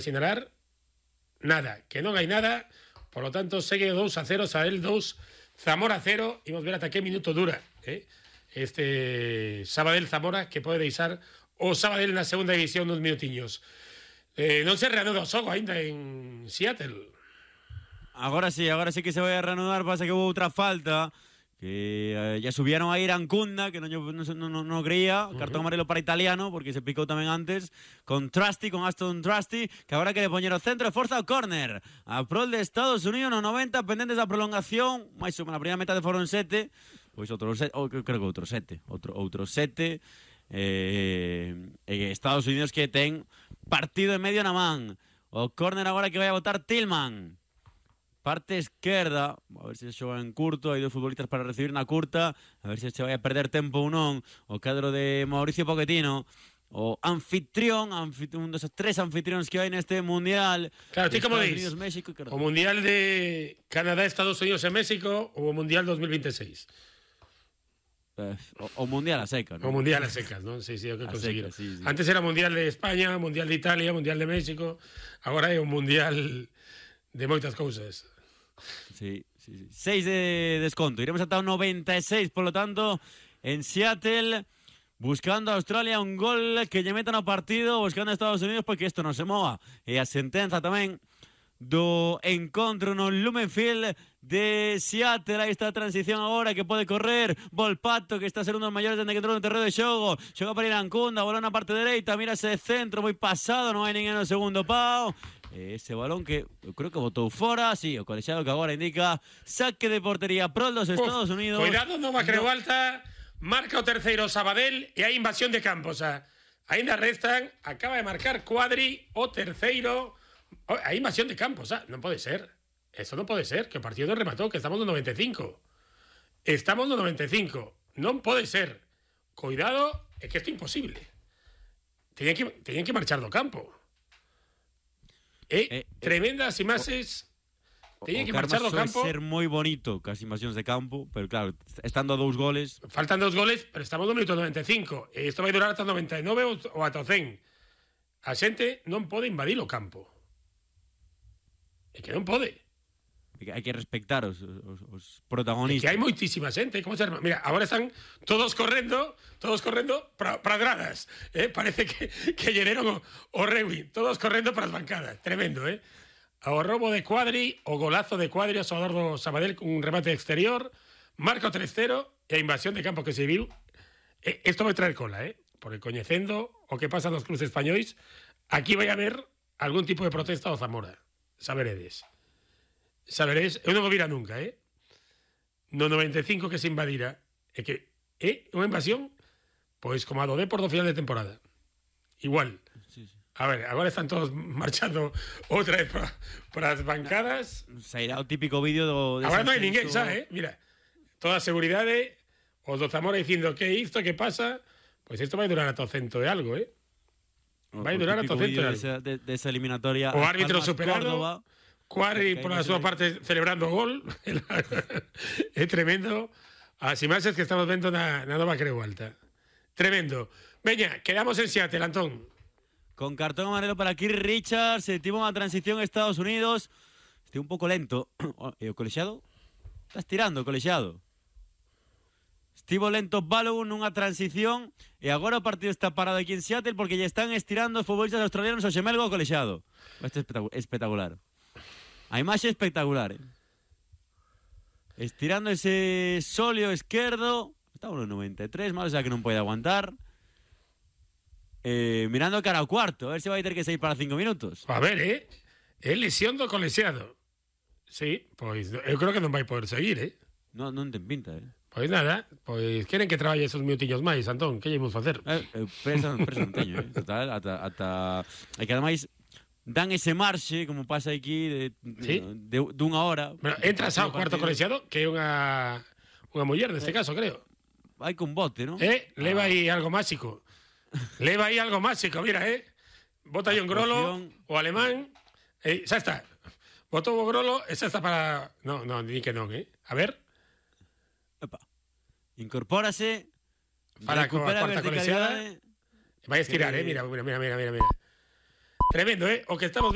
sinalar nada, que non hai nada, por lo tanto segue 2-0, Sabadell 2, Zamora 0, imos ver ata que minuto dura este Sabadell-Zamora, que pode deixar o Sabadell na segunda división nos minutiños. Non se reanuda o xogo ainda en Seattle. Agora sí que se vai a reanudar, pasa que hubo outra falta que ya subieron a Irancunda, que no creía, cartón amarelo para Italiano, porque se picou tamén antes, con Aston Trusty, que agora quere poñer o centro de forza ao córner, a prol de Estados Unidos no 90, pendentes da prolongación, máis ou menos, na primeira metade foron 7, pois outro 7, creo que outro 7, Estados Unidos que ten partido en medio na man, o córner agora que vai a botar Tillman, parte esquerda, a ver se xoga en curto, hai dos futbolistas para recibir na curta, a ver se vai a perder tempo ou non, o cadro de Mauricio Pochettino, o anfitrión, un dos tres anfitrións que hai neste Mundial. Claro, ti como dis, o Mundial de Canadá, Estados Unidos e México ou o Mundial 2026? O Mundial a secas, ¿no? O Mundial a secas, ¿no? Sí, o que conseguiron. Sí. Antes era Mundial de España, Mundial de Italia, Mundial de México, agora é un Mundial de moitas cousas. Sí. 6 de desconto. Iremos ata o 96, por lo tanto, en Seattle, buscando a Australia un gol que lle metan ao partido, buscando a Estados Unidos porque isto non se mova. E a sentenza tamén do encontro no Lumen Field de Seattle. Aí está a transición agora que pode correr Volpato, que está a ser un dos maiores dende que entrou no terreno de xogo, xoga para Irancunda, bola na parte dereita, mira ese centro moi pasado, non hai ninguén no segundo pau. Ese balón que eu creo que botou fora, sí, o colexiado que agora indica saque de portería pro dos Estados Unidos. Cuidado, Nova Creu Alta, marca o terceiro Sabadell e hai invasión de campo, o sea, ainda restan, acaba de marcar Cuadri o terceiro. Hai invasión de campo, o sea, non pode ser. Eso non pode ser, que o partido non rematou, que estamos no 95. Estamos no 95. Non pode ser. Cuidado, é que isto é imposible. Teñen que marchar do campo. Tremendas imaxes. Teñen que marchar do campo. Ser moi bonito cas invasións de campo, pero claro, estando a 2 goles. Faltan 2 goles, pero estamos no minuto 95. E isto vai durar ata 99 ou ata 100. A xente non pode invadir o campo. É que non pode. Hai que respectar os protagonistas. É que hai moitísima xente, como se arma. Mira, agora están todos correndo para as gradas. Parece que lle deron o rugby, todos correndo para as bancadas. Tremendo, O robo de Cuadri, o golazo de Cuadri, o xogador do Sabadell con un remate exterior, marca o 3-0 e a invasión de campo que se viu. Isto vai traer cola, porque coñecendo o que pasa nos clubes españois, aquí vai haber algún tipo de protesta ao Zamora. Saberedes, eu non o vira nunca, no 95 que se invadira, é que é unha invasión pois como a do Depor do final de temporada. Igual. Sí. A ver, agora están todos marchando outra vez para as bancadas. Sairá o típico vídeo do... Agora non hai ninguén, xa, mira, toda a seguridade, os do Zamora dicindo que isto, que pasa, pois isto vai durar ata o cento de algo, vai durar ata o cento de algo. Desa eliminatoria. O árbitro superado, Cuadri por a súa parte celebrando o gol. É tremendo as imaxes que estamos vendo na Nova Creu Alta. Tremendo. Veña, quedamos en Seattle, Antón. Con cartón amarelo para Keith Richards, se tivo unha transición a Estados Unidos. Este un pouco lento. E o colexiado? Está estirando o colexiado. Estivo lento Balogun nunha transición e agora o partido está parado aquí en Seattle porque lle están estirando os futbolistas australianos ao xemelgo ao colexiado. Este é espectacular. A imaxe espectacular, Estirando ese sóleo esquerdo. Estamos no 93, mal xa que non pode aguantar. Mirando cara ao cuarto, a ver se vai ter que sair para 5 minutos. A ver, é lesión do colexiado. Sí, pois eu creo que non vai poder seguir, Non ten pinta, Pois nada, pois queren que traballe esos minutiños máis, Antón, que lle imos facer? Presa non teño, Total, ata... E que ademais dan ese marxe, como pasa aquí, dunha hora. Bueno, entras ao cuarto colexiado, que é unha muller neste caso, creo. Vai con bote, non? Leva aí algo máxico. Mira, Bota aí un grolo, o alemán, xa está. Botou o grolo, xa está para... Non, di que non, A ver. Epa. Incorpórase, para recupera a cuarta colexiada. Vai a estirar, mira. Tremendo, o que estamos